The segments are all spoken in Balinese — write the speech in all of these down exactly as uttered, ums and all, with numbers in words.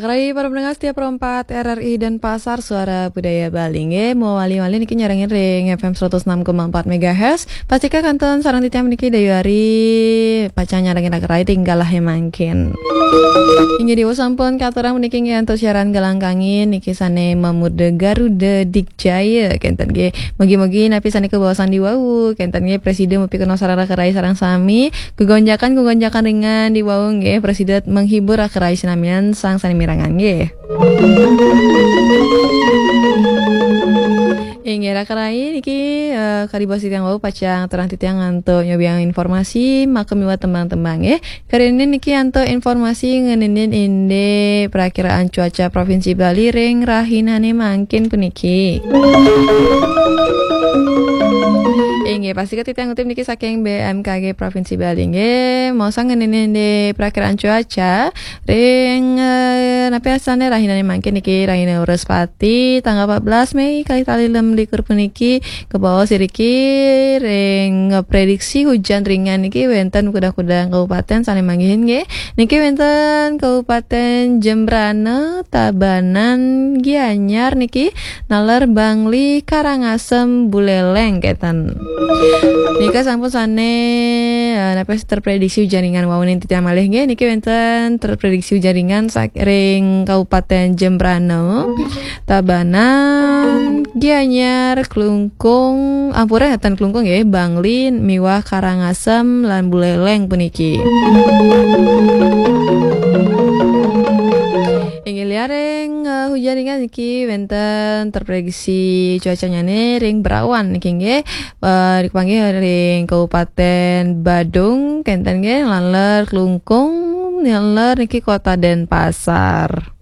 Rai para pendengar setia Pro empat R R I Denpasar, Suara Budaya Bali nggih. Mawali-wali niki nyarengin ring F M seratus enam koma empat megahertz. Pastika kantun sareng titiang niki Dayu Ari, pacang nyarengin Rai ring galah mangkin. Inggih, diwau sampun katurang puniki nggih antuk siaran Galang Kangin niki sane mamurda Garuda Dikjaya kenten nggih. Mugi-mugi napi sane kabaosang diwau kenten nggih prasida mapikenoh sareng Rai sareng sami. Gegonjakan-gegonjakan ringan diwau nggih prasida menghibur Rai sinamian sang sane mirengang nggih. Inggih, Rai niki, eh, kadi baos titiang wau pacang terang titiang antuk nyobiang informasi maka miwah tembang-tembang nggih. Kadi niki antuk informasi ngeninin indik perakiraan cuaca Provinsi Bali ring rahinane mangkin puniki. Inggih, pastika titiang ngutip niki saking B M K G Provinsi Bali nggih. Maosang ngeninin indik perakiraan cuaca ring, eh, napi astane rahinane mangkin niki rahina Wrespati tanggal empat belas Mei kalih tali lem likur puniki kabaos iriki ring prediksi hujan ringan niki wenten kudang-kudang kabupaten sane manggihin nggih. Niki wenten Kabupaten Jembrana, Tabanan, Gianyar niki, naler Bangli, Karangasem, Buleleng kenten. Nika sampun sane, eh, napi terprediksi hujan ringan wau ning titiang malih nggih. Niki wenten terprediksi hujan ringan sak-, ring Kabupaten Jembrana, Tabanan, Gianyar, Klungkung, ampura ngeten Klungkung nggih, Bangli, miwah Karangasem lan Buleleng puniki. Inggih, liaring, eh, hujan ringan niki wenten terprediksi cuacanyane ring Berawan niki nggih. Eh, dipanggih ring Kabupaten Badung kenten nggih, naler Klungkung, naler niki Kota Denpasar.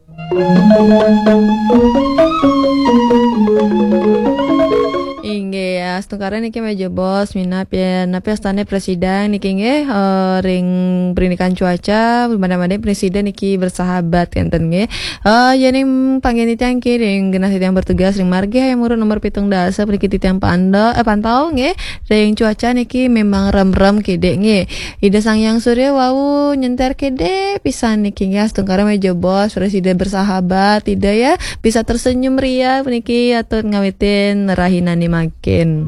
Inggih, ya, astungkara niki meja bos minap ya, napi astane presidang niki nggih, eh, ring pendidikan cuaca, mada-mada presiden niki bersahabat kenten nggih. Eh, yening panggen titiang niki ring genah titiang bertugas ring margi hayam murun nomor pitung dasa puniki titiang pando, eh, pantau nggih. Ring cuaca niki memang rem-rem kede nggih. Ida Sang Hyang Surya wau nyenter kede pisan niki nggih, astungkara meja bos, presiden bersahabat, Ida ya, bisa tersenyum ria puniki atur ngawitin rahinane mangkin.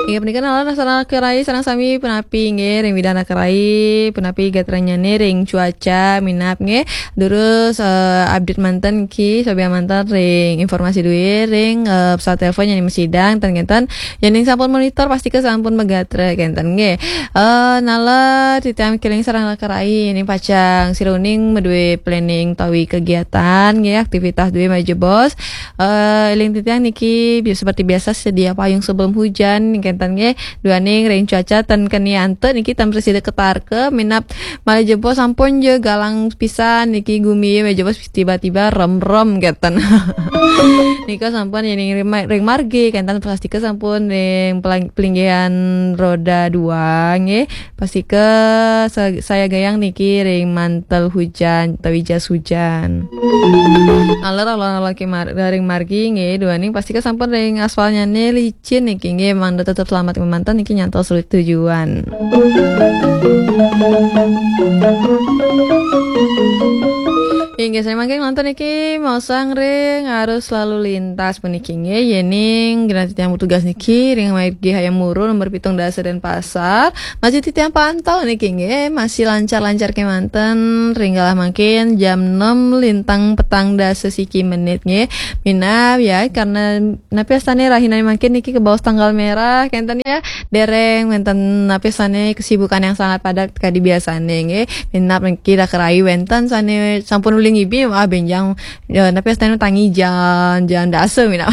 Inggih punika nalar sareng Rai sareng sami punapi nggih ring widang Rai punapi gatranyane ring cuaca minap nggih. Durus, eh, update manten ki, sobian manten ring informasi duwe ring, eh, pesawat telepon yang masidang ten kenten. Yening sampun monitor pastika sampun magatra kenten nggih. Eh, nalar titiang keling sareng Rai yening pacang sira uning madue planning tawi kegiatan nggih, aktivitas duwe meja bos. Eh, eling titiang niki bi-, seperti biasa sedia payung sebelum hujan kenten nggih. Duaning ring cuaca ten keni antuk niki tan prasida ketarka minap malih jebos sampun ja galang pisan niki gumi meja bos tiba-tiba rem-rem kenten. Nika sampun yening ring ma-, ring margi kenten pastika sampun ring pelang-, pelinggihan roda dua nggih. Pastika sa-, saya gayang niki ring mantel hujan utawi jas hujan. Nalar alon-alon ki mar-, ring margi nggih, duaning pastika sampun ring aspalnyane licin niki nggih, mangda tetep selamat kemanten niki nyantol sulit tujuan. Inggih, saya mangkin manten niki maosang ring arus lalu lintas puniki nggih, yening genah titiang bertugas niki ring margi hayam murun nomor pitung dasa Denpasar, masih titiang pantau niki nggih, masih lancar-lancar kemanten ring galah mangkin jam enam lintang petang dasa siki menit nggih. Minab ya, karena napi astane rahinane mangkin niki kebaos tanggal merah kenten ya. Dereng wenten napi astane kesibukan yang sangat padat kadi biasane nggih. Minab niki Rai wenten sane sampun uli ngibi, ah, benjang ya, napi astane tangi jam, jam dasa minab.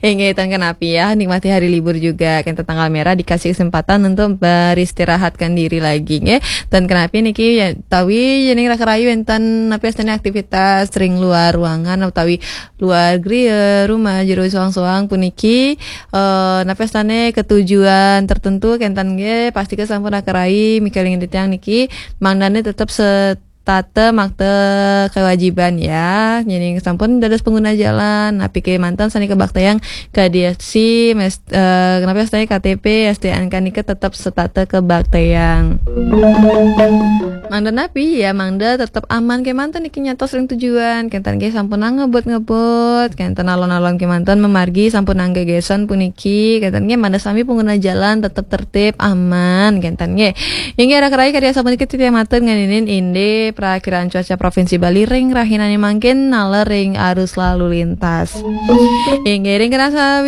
Inggih, tan kenapi ya, nikmati hari libur juga. Kenten tanggal merah dikasih kesempatan untuk beristirahatkan diri lagi nggih. Tan kenapi niki ya, tawi yening Rai wenten napi astane aktivitas ring luar ruangan utawi luar griya, rumah, jero soang-soang puniki, eh, napi astane ketujuan tertentu kenten nggih, pastika sampun Rai mikelingin titiang niki, mangdane tetep se-, setata makta kewajiban ya. Nyén sampun dados pengguna jalan, napi kémanten sané kabaktayang kadi S T, mes-, eh, napi S T K T P, S T N K nika tetep setata kabaktayang. Mangda napi ya, mangda tetep aman kémanten niki nyantos ring tujuan. Kénten nggih sampun ngebut-ngebut, kénten alon-alon kémanten mamargi sampun nggegésan puniki. Kénten nggih mangda sami pengguna jalan tetep tertib, aman, kénten nggih. Inggih raka rai, kadi asapunika titiang matur ngeninin indik prakiraan cuaca Provinsi Bali ring rahinané mangkin naler ring arus lalu lintas. Inggih ring raka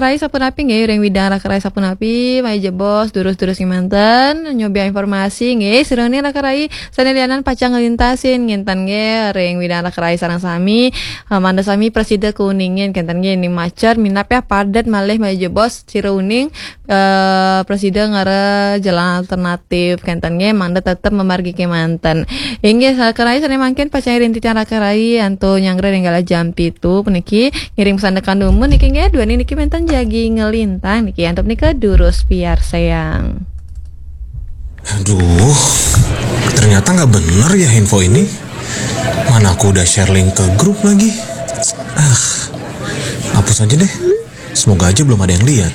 rai sapunapi nggih, ring widang raka rai sapunapi, malih jebos, durus-durus kémanten, nyobiahang informasi nggih, sira uning raka rai sané lianan pacang nglintasin, kénten nggih, ring widang raka rai sareng sami, eh, mangda sami prasida kauningin, kénten nggih, ning macet, minab ya padet malih malih jebos, sira uning, eh, prasida ngara jalan alternatif, kénten nggih, mangda tetep mamargi kémanten. Inggih, raka rai sané mangkin pacang ring titiang raka rai, antuk nyanggra ring galah jam pitu puniki, ngiring pasandekan dumun niki nggih, duaning niki wénten jagi nglintang niki, antuk nika durus piarsayang. Aduh, ternyata nggak bener ya info ini. Mana aku udah share link ke grup lagi. Ah, hapus aja deh. Semoga aja belum ada yang lihat.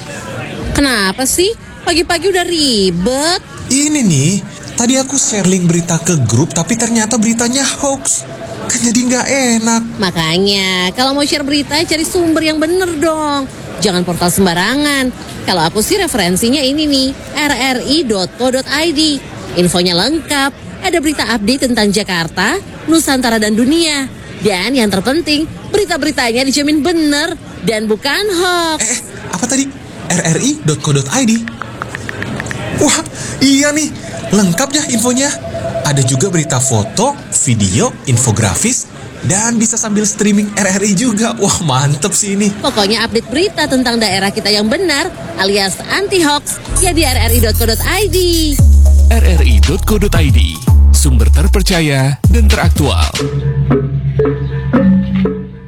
Kenapa sih? Pagi-pagi udah ribet. Ini nih, tadi aku share link berita ke grup tapi ternyata beritanya hoax. Kan jadi nggak enak. Makanya, kalau mau share berita, cari sumber yang bener dong. Jangan portal sembarangan. Kalau aku sih referensinya ini nih, R R I dot co dot I D. Infonya lengkap, ada berita update tentang Jakarta, Nusantara dan dunia. Dan yang terpenting, berita-beritanya dijamin bener dan bukan hoax. Eh, eh, apa tadi? R R I dot co dot I D. Wah, iya nih, lengkap ya infonya. Ada juga berita foto, video, infografis, dan bisa sambil streaming R R I juga. Wah, mantep sih ini. Pokoknya update berita tentang daerah kita yang benar alias anti hoax ya di R R I dot co dot I D. R R I dot co dot I D, sumber terpercaya dan teraktual.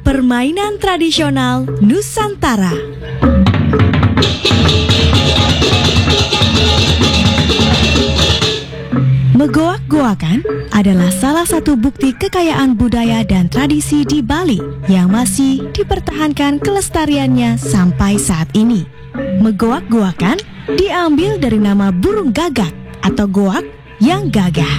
Permainan tradisional Nusantara. Megoak-goakan adalah salah satu bukti kekayaan budaya dan tradisi di Bali yang masih dipertahankan kelestariannya sampai saat ini. Megoak-goakan diambil dari nama burung gagak atau goak yang gagah.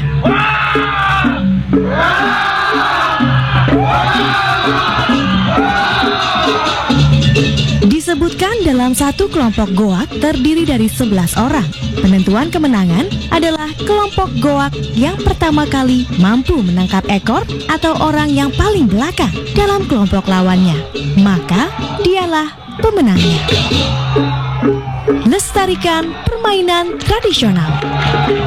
Disebutkan dalam satu kelompok goak terdiri dari sebelas orang. Penentuan kemenangan adalah kelompok goak yang pertama kali mampu menangkap ekor atau orang yang paling belakang dalam kelompok lawannya. Maka, dialah pemenangnya. Lestarikan permainan tradisional.